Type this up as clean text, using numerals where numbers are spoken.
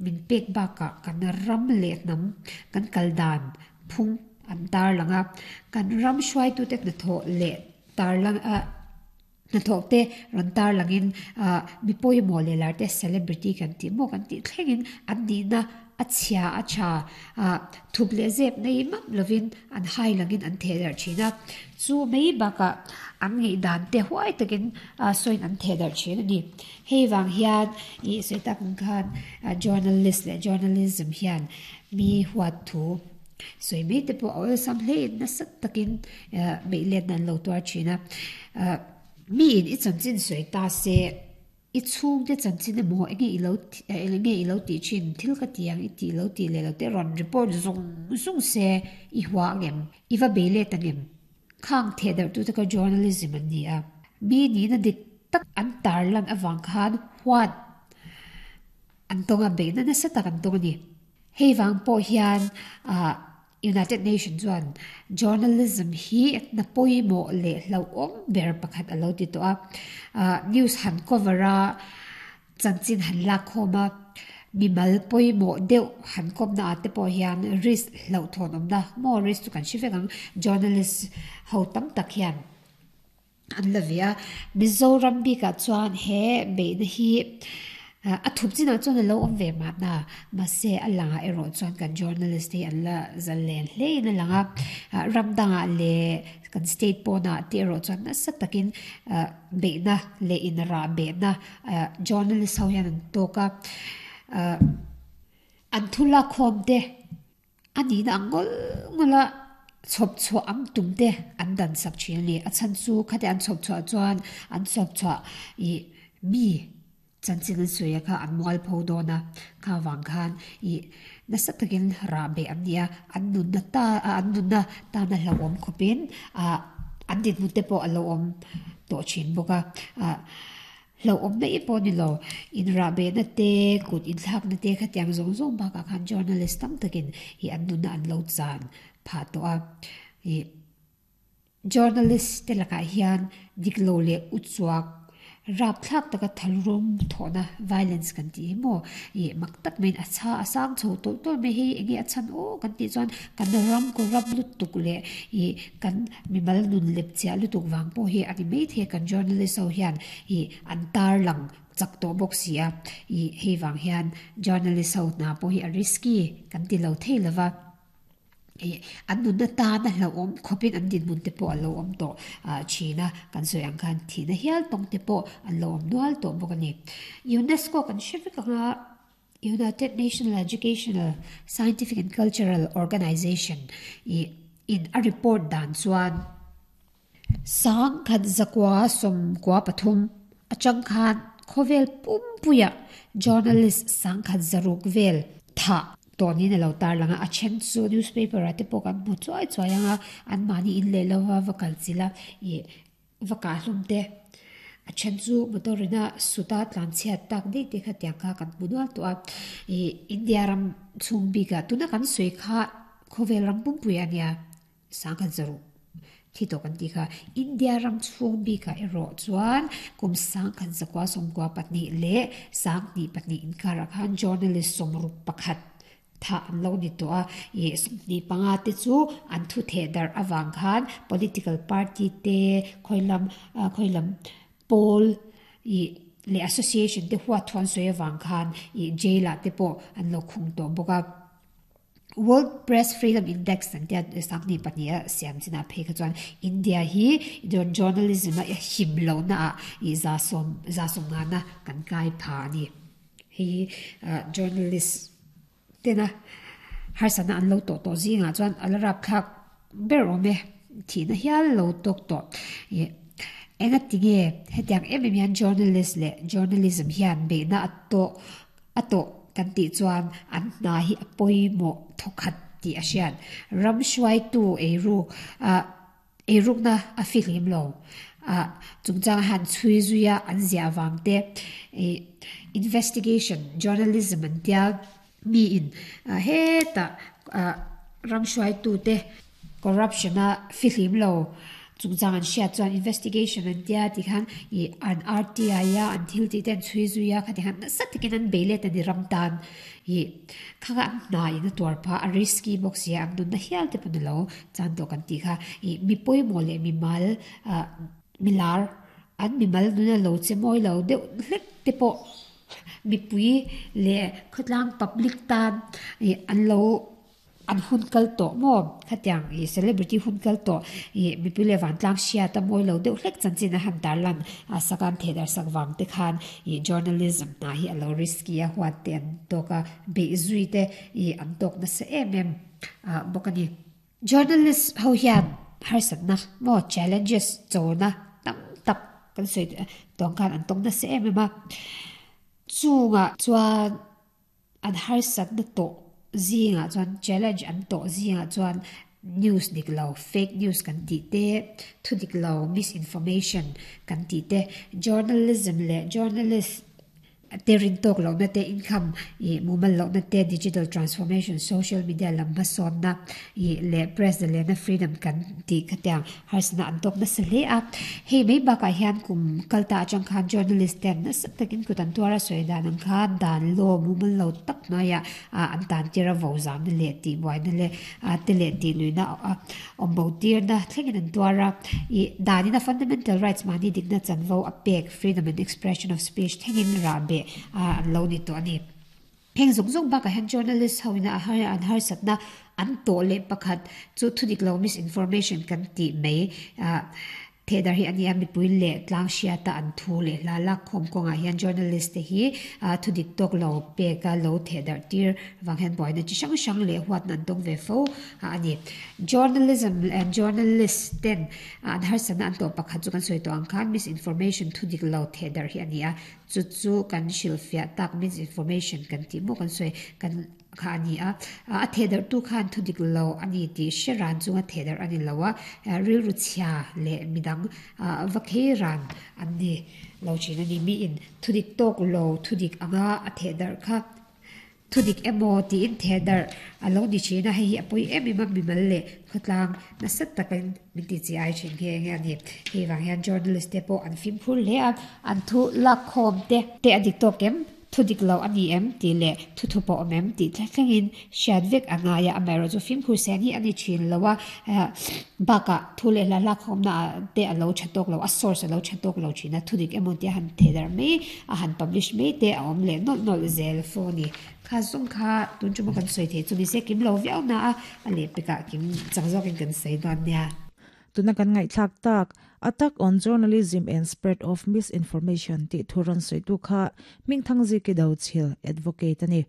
min pek bakah kan ram leh hnam kan kal dan phung an tarlang a, kan ram hruaitute hnathawh leh tarlang a hnathawh te rawn tarlangin ah mi pawimawh leh lar te celebrity kan tih maw kan tih thlengin an nihna a chhia a tha ah thup leh zep nei map lovin an hai langin an theh darh thin a, chu mai bakah an ngaihdan te huai takin ah sawiin an theh darh thin a ni. Hei vang hian ih sawi tak ang khan journalist leh journalism hian mi huat thu sawi mai te pawh a awlsam hle in nasa takin beih letna an lo tuar thin a. Mi in i chanchin sawi ta se i chhungte chanchin emaw enge i lo enge i lo tih thin thil ka ti ang i tih lo tih leh lo te rawn report zung zung se i hua angem i va bei let angem Khang thehdarhtute kha journalism an ni a, mi nihna dik tak an tarlan avang khan huat an tawng a, beihna nasa tak an tawng a ni. Hei vang pawh hian United Nation chuan journalism hi hna pawimawh leh hlauhawm ber pakhat a lo ti tawh a, news han cover a, Chanchin han lak khawm a, mimal pawimawh deuh han kawmna ah te pawh hian risk hlauhthawn awmna maw risk chu kan hre vek ang journalist ho tam tak hian an la ve a. Mizoram bikah chuan he beihna hi a thup chinah chuan a lo awm ve mahna mahse a langah erawh chuan kan journalist te hi an la zalen hle in a lang a, ram dangah leh kan state pawnah te erawh chuan nasa takin beihna leh inrah behna journalist ho hian an tawk a, an thu lakkhawm te a nihna ang ngawlh ngawlh a chhawp chhuah ang tum te an dan sak thin a ni. A chhan chu khati an chhawp chhuah chuan an chhawp chhuah ih mi chanchin an sawi a kha an mualpho dawn a, kha vang khan ih nasa takin rah beh an ni a, an nunna ta an nunna tana hlauhawm khawpin ah an dinhmun te pawh a lo awm tawh thin bawk a ah hlauhawm mai pawh ni lo inrah behna te kut inthlakna te khatiang zawng zawng bakah khan journalist tam takin ih an nunna an lo chan phah tawh a ih. Journalist te lakah hian dik lo leh uchuak rapthlak taka thalrum thawhna, violence kan tih hi maw, ih mak tak maiin a chha a sang chho tawlh tawlh mai hei enge a chhan aw kan tih chuan kan ram corrupt lutuk leh ih kan mimal nun lep chiah lutuk vang pawh hi a ni maithei a kan journalist ho hian ih an tarlang chak tawh bawk si a, ih hei vang hian journalist ho hna pawh hi a risky kan ti lo thei lova. Ih an nunna tan a hlauhawm khawpin an dinhmun te pawh a lo awm tawh thin a, kan sawi ang khan thihna hial tawng te pawh an lo awm nual tawh bawk a ni. UNESCO kan hre vek ang a, United National Educational, Scientific and Cultural Organization ih in a report dan chuan, 1993 atang khan khawvel pumpuiah journalist 106 vel thah tawh niin a lo tarlang a, a then chu newspaper ah te pawh kan hmu chuai chuai ang a, anmahni in leh lova va kal chilh a ih va kah hlawm te, a then chu motor ina suta tlanchhiat tak daih te kha tiang kha kan hmu nual tawh a, ih India ram chhung bikah tuna kan sawi kha khawvel ram pumpui a nia. 106 thi tawh kan tih kha. India ram chhung bikah erawh chuan kum 1994 leh 2002 inkarah khan journalist 61 thah an lo ni tawh a, ih 25 te chu an thu theh darh avang khan political party te khawilam khawilam pawl ih leh association te huat thu an sawi avang khan ih jail ah te pawh an lo khung tawh bawk a. World Press Freedom Index an tia 2002 a siam chinah phei kha chuan India hi journalism a him lohna ah ih za sawm za sawm ngana kan kai pha a ni. Hei hi journalist tena harsatna an lo tawh tawh zingah chuan a la rapthlak ber awm e, thihna hial lo tawk tawh. Ih engatinge hetiang em em hian journalist leh journalism hian beihna a tawh A tawh kan tih chuan an hna hi a pawimawh thawkhat tih a hriat. Ram hruaitu eiruk ah eirukna a fihlim lo ah chungchang han chhui zui a an ziah vang te ih investigation journalism an tia mi in hetah ah ram hruaitu te corruption a fihlim lo. chungchang an hriat chuan investigation an tia tikhan ih an RTI a an thil tih te an chhui zui a khati khan nasa takin an bei let a ni ram tan ih kha kha an hna in a tuar phah a risky bawk sia an nunna hial te pawh ni lo chan tawh kan tih kha ih mi pawimawh leh mimal ah milar an mimal nuna lo che mawi lo deuh hlek te pawh mipui leh khawtlang public tan ih an lo. An hun kal tawh maw? Khatiang ih celebrity hun kal tawh ih mipui leh vantlang hriat a mawi lo deuh hlek chanchin a han tarlan a sak a an theh darh sak vang te khan ih journalism hna hi a lo risky a huat te an tawk a beih zui te ih an tawk nasa em em ah bawk a ni. Journalist ho hian harsatna maw challenges chona tam tak kan sawi tawng khan an tawk nasa em em a chungah chuan An harsatna tawh zingah chuan challenge an tawh zingah chuan news dik lo, fake news kan tih te, thu dik lo, misinformation kan tih te, journalism leh journalist te rin tawk lohna te, income ih mumal lohna te, digital transformation, social media lam hmasawnna ih leh press zalena freedom kan tih khatiang Harsatna an tawk nasa hle a, hei mai bakah hian kum kal ta atang khan journalist ten nasa takin kut an tuar a sawi dan ang khan dan law mumal lo tak hnuaiah an tan tir a vo zamna leh tihbuaina leh te leh tihluihna awm bo tirna thlengin an tuar a. Ih danin a fundamental rights mahni dikna chanvo a pek freedom and expression of speech thlengin rahbeh an lo ni tawh a ni. Heng zawng zawng bakah hian journalist ho ina a har an harsatna an tawh leh pakhat chu thudik lo misinformation kan tih mai ah thehdar hi a ni a, mipui leh tlang hriata an thu leh hla lak khawm kawngah hian journalist te hi ah thudik tawk lo peka lo thehdarh tir vang hian buaina chi hrang hrang leh huatna an tawng ve fo a ni. Journalism and journalist ten an harsatna an tawh pakhat chu kan sawi tawh ang khan misinformation thudik lo thehdarh hi a ni a, Chu chu kan hrilhfiah tak misinformation kan tih maw kan sawi kan kha a ni a, a thehdarhtu khan thu dik lo a ni tih hre ran chunga thehdarh a ni lo a, rilru chhia leh midang va khei ran an ni lo thin a ni. Miin thu dik tawk lo thu dik anga a thehdarh kha Thu dik emaw tiin thehdarh a lo ni thin a, hei hi a pawi em em a, mimal leh khawtlang nasa takin min ti chi ai thin nghe nghe a ni. Hei vang hian journalist te pawh an fimkhur hle a, an thu lakkhawm te te a dik tawk em, thu dik lo a ni em tih leh thu thu pawh awm em tih thlengin hriat vek a ngai a, amaherawhchu fimkhur sen hi a ni thin lo a, bakah thu leh hla hlakkhawmna ah te a lo tha tawk lo, a source a lo tha tawk lo thin a, thu dik emaw tia han thehdarh mai A han publish mai te a awm leh nawlh nawlh zel fo a ni. Kha zawng kha tun tuma kan sawi theih chu ni se kim lo viau na a, a lehpekah kim chak zawkin kan sawi dawn nia. Tuna kan ngaihthlak tak, Attack on Journalism and Spread of Misinformation tih thu rawn sawitu kha Hmingthangziki Dochil, Advocate a ni.